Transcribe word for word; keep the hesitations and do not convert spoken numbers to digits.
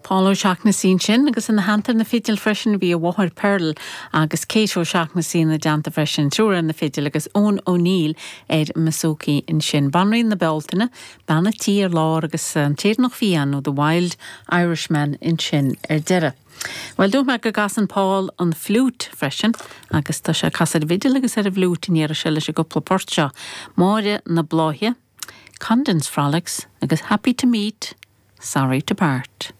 Paul O'Shaughnessy ansin agus ina theannta na fidil freisin bhí a mháthair Pearl agus Kate O'Shaughnessy ina dteannta freisin triúr ar na fidil agus Eoin O'Neill ar an mbouzouki ansin. Banríon na Bealtaine, Bean an Tí ar lár agus an tÉireannach Fiáin nó The Wild Irishman ansin ar deireadh. Well dúirt mé go gcasann Paul an fliút freisin agus tá sé ag casadh ar an bhfidil agus ar an bhfliút in iarra se leis an gcúpla port seo. Máire na Bláithe, Condon's Frolics agus Happy to Meet, Sorry to Part.